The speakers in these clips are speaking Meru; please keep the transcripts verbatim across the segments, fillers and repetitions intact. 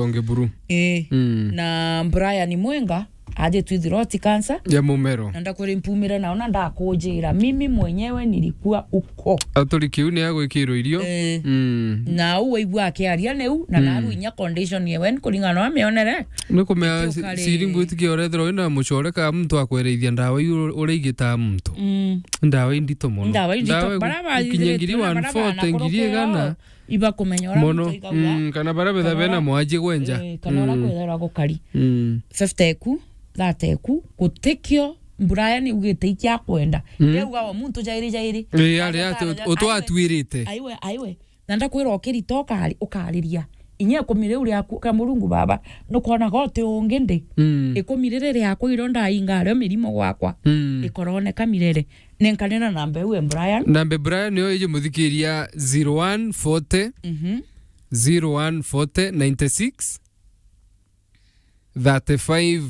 Onge buru. Eh. Mm. Na Brian Mwenga aje twithirwa ti cancer. Ya mumero. Na ndakwira mpumire nao na ndakujira. Mimi mwenyewe nilikuwa uko. Aturi kiu ni agwikirwo irio. Eh. Mm. Na u waigua akiaria niu, na mm, naru inya condition yewe ni kuringana na mionere. Ni kumea. Ndio kare. Siri ngwitikia urethirwa wina mucore ka muntu akwerethia ndawa iu ur-, uraigita muntu. Mm. Ndawa indito mono. Ndawa indito. Ndawa bara ba-, ikinya ngiri bara ba-, one forty, ngiri igana. Ibakumenya uria mono, muntu aigagua. Mm, kana bara betha bena mwaji gwenja. Eh, kana uria mm, kwethairwa gukari. Mm. Fifty eku, thirty eku, gutikio Brian ugite ikiakwenda. Mm. Riu ugawa muntu jairi jairi. Eh, ari ati utwatwirite. Aiwe, aiwe. Na ndakwira ukirita ukari-, ukariria. Inya ikumi riu riaku, ka Murungu baba, nukwona goti ungi ndi. Mm. Ikumi riri riaku irio ndainga ario mirimo gwakwa. Mm. Ikoroneka mirere. Nenkanira namba iu e Brian. Namba e Brian niyo iji muthikiria zero one forty, mhm, zero one forty, ninety-six, thirty-five,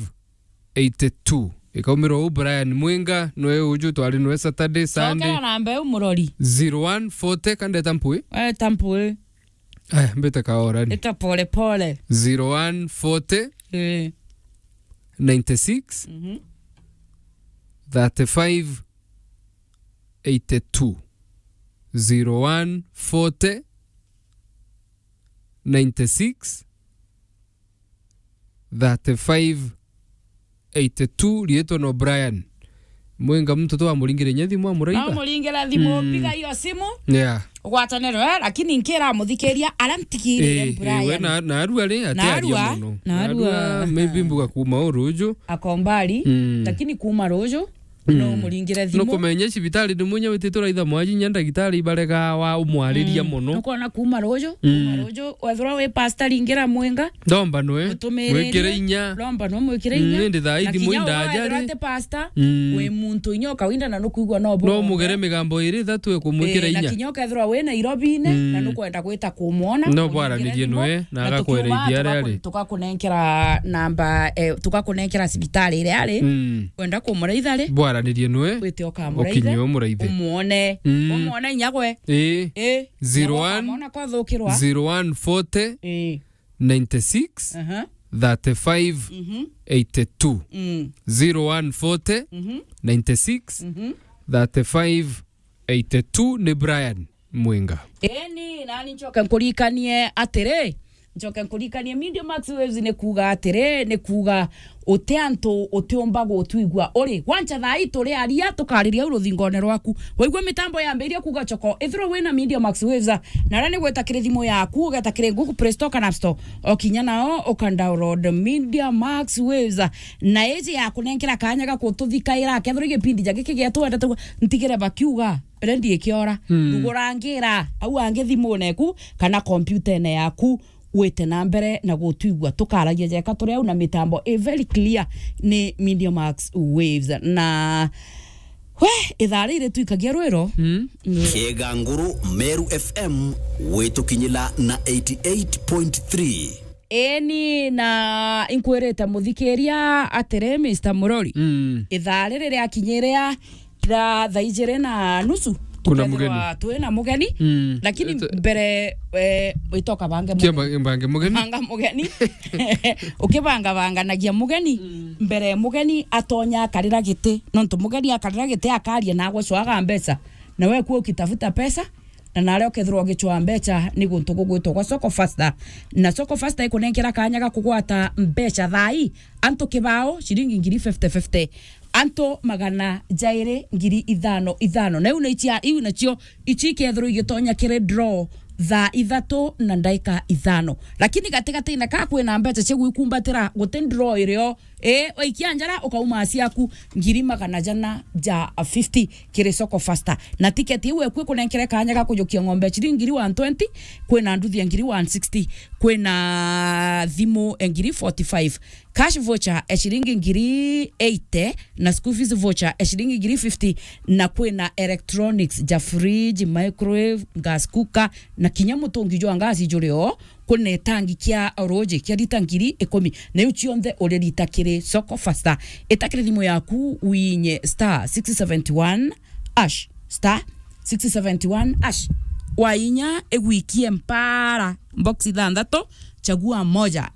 eighty-two. Ikaumirwa u Brian Mwinga, nwe uju twari nwe Saturday, Sunday. Cokera namba iu murori. Zero one forty, kandeta mpui? Eta mpui. Aya, mbite kaorani. Ita pole pole. Zero one forty, eh, ninety-six, mhm, thirty-five, eighty-two. Zero one forty, ninety-six, thirty-five, eighty-two, riitwa no Brian. Mwinga muntu twamuringire nya thimu amuraitha. No muringire thimu, mm, piga hiyo simu. Yeah. Ugwatanirwe, lakini nkira muthikiria aria ntigirire. Eh, Brian. Eh, we na, na arua ri, ati aria mono. Na arua, na arua, maybe mbuga kuma uruju. Akombari, mm, lakini kuma ruju. Mm. No muringire thimu. Nukumenya cibitari ni munya wititwe raitha mwaji nya ndagitari ibarega wa umwariria, mm, mono. Nukona kuma ruju, mm, kuma ruju, wethirwa wi pastor ringira Mwinga. Ndomba nwe, utumirire, mwikire inya. Ndomba nwe mwikire inya. Mm, indi thaa ithi muinda ajari. Ati pastor, mm, wi muntu inya ukawinda na nukwigua no bo. No mugere migambo iri ithatu ekumwikira inya. Eh, na kinya ukethirwa wi Nairobi-ine, mm, na nukwenda gwita kumwona, no bwaranirie nwe, na agakwereithia aria ari. Tugakunenkera namba, eh, tugakunenkera cibitari iria ari. Mm. Wenda kumuraitha ri? Bwaranirie nwe. Wite ukamuraithe. Ukinye umuraithe. Umwone. Mm. Umwone inya gwe. Ii. Ii. Zero one, ukamwona kwathukirwa. Zero one forty, ii, ninety-six, aha, thirty-five, mhm, eighty-two. Mm. Zero one forty, mhm, ninety-six, mhm, thirty-five, eighty-two ni Brian Mwinga. Eni, nani ncoke nkurikanie atiri, ncoke nkurikanie Media Max Waves ni kuuga atiri, ni kuuga uti antu utiumba gutwigua uri. Gwancha thaa ii turi aria tukariria au ruthingone rwaku. Waigua mitambo yambiria kuuga choko, ithirwa wina Media Max Waves, na aria ni gweta kiri thimu yaku, ugeta kiri Google Play Store kana App Store. O kinya nao uka download Media Max Waves. Na iji ya kunenkera kanya ga kututhikaira, kethirwa gipindi ja giki giatwendete ntigire bakiuga. Rendi ikiora, mm, rugurangira au angi thimune eku kana kompyutene yaku, wite na mbere na gutwigua. Tukaragia jeka turi au na mitambo i very clear ni Media Max Waves. Na we, ithaa riri twikagia rwiro. Mm. Mm. Kiega nguru, Meru F M, gwitukinyila na eighty-eight point three. Eni, na inkwirite muthikiria atiri, Mister Murori, mm, ithaa riri riakinyiria ra thaa ijiri na nusu, kuna tukethirwa mugeni, twi na mugeni. Mm. Lakini ito- mbere, eh, witoka bange kia mugeni. Ba-, bange mugeni. Banga mugeni. Ukibangabanganagia mugeni, mm, mbere mugeni atonya akarira giti. Nontu mugeni akarira giti akaria na agwe cwaga mbeca. Na we kuo ukitafuta pesa, na naria ukethirwa ugicwaa mbeca ni guntu gugwitwa gwa Soko Faster. Na Soko Faster ikunenkera kanya ga kugwata mbeca thaa ii, antu kibao, ciringi ngiri fifty fifty, antu magana jairi ngiri ithano ithano. Na iu ni cia, iu nacio ici ikethirwa igitonya kiri draw thaa ithatu na ndaika ithano. Lakini gatigatine ka kwina mbeca cia gwikumbatira, guti draw irio. Ii, waikia njara, ukauma ciaku ngiri magana jana ja fifty kiri Soko Faster. Na tiketi iu eku ikunenkere kanya ga kujukia ng'ombe ya ciringi ngiri one twenty, kwina nduthi ya ngiri one sixty, kwina thimu ya ngiri forty-five, cash voucher ya ciringi ngiri eighty, na school fees voucher ya ciringi ngiri fifty, na kwina electronics ja fridge, microwave, gas cooker, na kinya mutungi jwa ngasi juri o. Kwina itangi kia ruuji kia lita ngiri ikumi, na iu cionthe uririta kiri Soko Faster. Ita kiri thimu yaku, winye star six seventy one hash, star six seventy one hash. Wainya igwikie mpara, box ithanthatu, chagua moja.